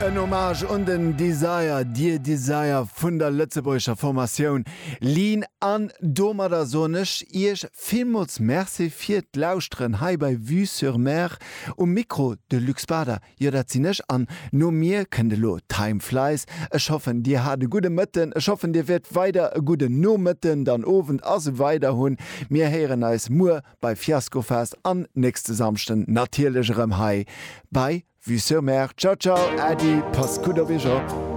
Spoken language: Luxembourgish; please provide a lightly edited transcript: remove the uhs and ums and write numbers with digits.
En Hommage un den Desire, Dear Desire vun der lëtzebuergescher Formatioun Lean. An domadder soen ech Iech villmools Merci fir d'Lauschteren hei bei Vue sur Mer. Um Mikro de Luc Bader, jo dat sinn ech, an no mir kënnt elo Time Flies. Ech hoffen dir hat e gudde Mëtten, ech hoffen dir wäert weider e gudden Nomëtten, dann Owend a sou weider hunn. Mir héieren eis muer bei Fiaskofest an nächste Samschden natierlech erëm hei bei Vue sur Mer. Ciao ciao, Äddi, passt gutt op iech op.